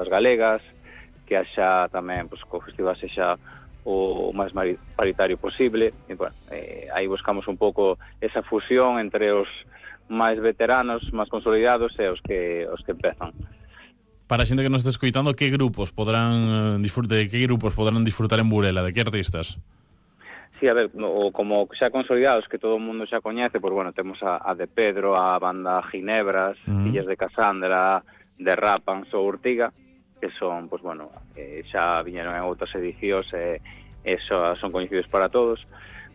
bandas galegas, que haxa tamén, pois, que o festival sexa o máis paritario posible, e, bueno, aí buscamos un pouco esa fusión entre os máis veteranos, máis consolidados e os que empezan. Para a xente que nos está escoitando, que grupos podrán disfrutar en Burela, de que artistas? Sí, a ver, como xa consolidados, que todo o mundo xa coñece, pois, bueno, temos a de Pedro, a banda Ginebras, Fillas de Casandra, de Rapans ou Urtiga, que son, pois, bueno, xa viñeron en outras edicións e son coñecidos para todos.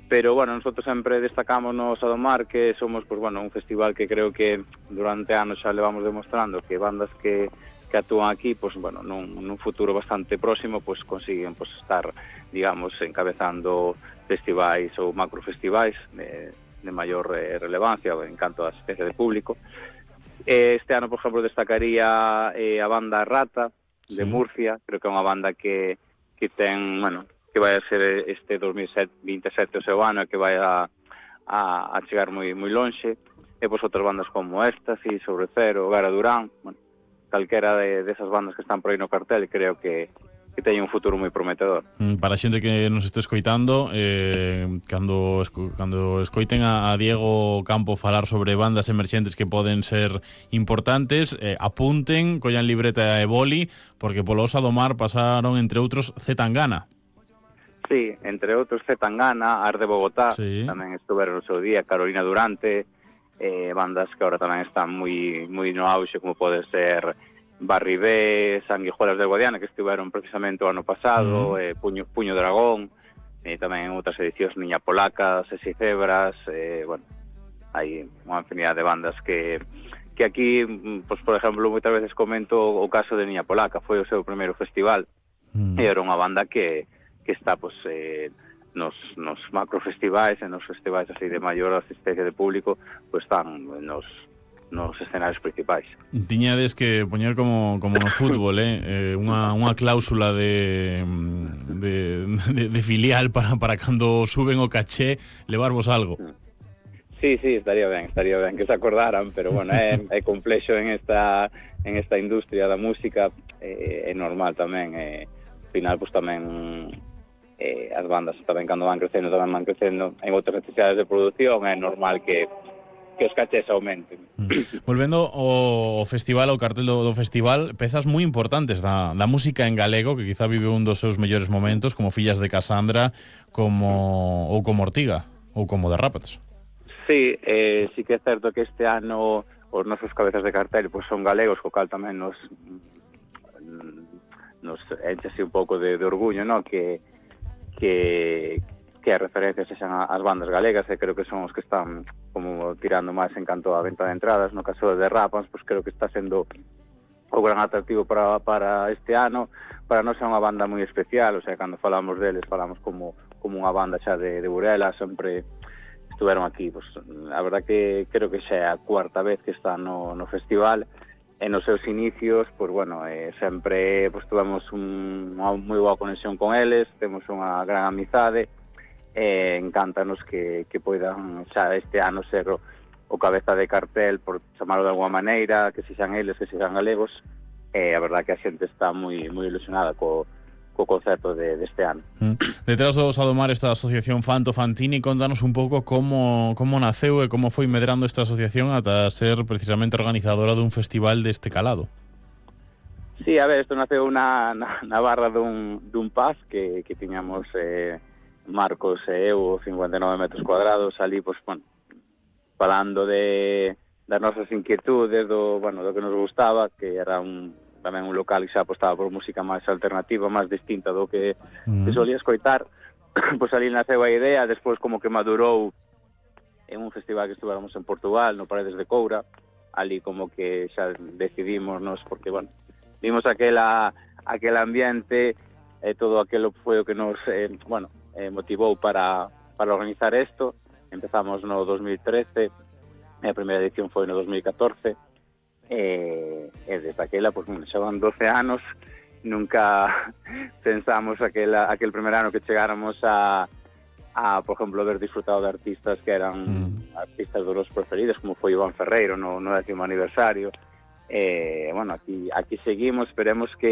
Pero, bueno, nosotros sempre destacamos no Sadomar que somos, pois, bueno, un festival que creo que durante anos xa levamos demostrando que bandas que actúan aquí, pois, bueno, nun futuro bastante próximo, pois, consiguen, pois, estar, digamos, encabezando festivais ou macrofestivais de maior relevancia en canto a asistencia de público. Este ano, por exemplo, destacaría a banda Rata, de Murcia. Creo que é unha banda que ten, bueno, que vai a ser este 2027 o seu ano e que vai a chegar moi lonxe. E pois outras bandas como Éxtasis, Sobre Cero, Gara Durán, bueno, calquera desas bandas que están por aí no cartel, creo que teñen un futuro moi prometedor. Para a xente que nos este escoitando, cando escoiten a Diego Campo falar sobre bandas emerxentes que poden ser importantes, apunten, collan libreta e boli, porque polo Sadomar pasaron, entre outros, Zetangana. Sí, entre outros Zetangana, Ar de Bogotá, tamén estuveron no seu día, Carolina Durante, bandas que agora tamén están moi no auxe, como pode ser Barribé, Sanguijuelas de Guadiana, que estiveron precisamente o ano pasado, Puño Dragón, tamén en outras edicións Niña Polaca, Sesi Cebras, bueno, hai unha infinidade de bandas que aquí, pues, por exemplo, moitas veces comento o caso de Niña Polaca, foi o seu primeiro festival, e era unha banda que está, pues, nos macrofestivais e nos festivais así de maior asistencia de público, pues están nos escenarios principais. Tiñades que poñer como no fútbol, unha cláusula de filial para cando suben o caché levarvos algo. Sí, estaría ben que se acordaran, pero bueno, é complexo en esta industria da música, é normal tamén, ao final, pues, tamén as bandas tamén cando van crecendo en outras necesidades de produción, é normal que os cachés aumenten. Volvendo ao festival, ao cartel do festival, pezas moi importantes da música en galego, que quizá vive un dos seus mellores momentos, como Fillas de Casandra, como Ortiga, ou como de Rapaz. Sí, sí que é certo que este ano os nosos cabezas de cartel pois son galegos, co cal tamén nos enche así un pouco de orgullo, ¿no? Que as referencias sexan as bandas galegas, e creo que son os que están como tirando máis en canto a venta de entradas. No caso de Rapans, pues creo que está sendo o gran atractivo para este ano. Para nós é unha banda moi especial, o sea, cando falamos deles falamos como unha banda xa de Burela, sempre estuveron aquí. Pues, a verdad que creo que xa é a cuarta vez que están no festival. En os seus inicios, pues bueno, sempre pues, tuvemos unha moi boa conexión con eles, temos unha gran amizade, encántanos que poidan xa este ano ser o cabeza de cartel, por chamarlo de alguma maneira, que sexan eles, que sexan galegos, a verdad que a xente está moi ilusionada co concerto deste ano. Detrás do Sadomar esta asociación Fanto Fantini, contanos un pouco como naceu e como foi medrando esta asociación ata ser precisamente organizadora dun festival deste calado. Sí, a ver, isto naceu na barra dun pub que tiñamos Marcos e eu, 59 metros cuadrados, ali, pues, bueno, falando das nosas inquietudes, do que nos gustaba, que era tamén un local que xa apostaba por música máis alternativa, máis distinta do que solía escoitar. Pois ali naceu a idea, despois como que madurou en un festival que estuvéramos en Portugal, no Paredes de Coura, ali como que xa decidímonos, porque, bueno, vimos aquel ambiente, todo aquilo foi o que nos, motivou para organizar isto. Empezamos no 2013, a primeira edición foi no 2014, e desde aquela, pues, xa van 12 anos, nunca pensamos aquel primer ano que chegáramos a por exemplo, haber disfrutado de artistas que eran artistas dos los preferidos, como foi Iván Ferreiro no 10º aniversario. Bueno, aquí seguimos, esperemos que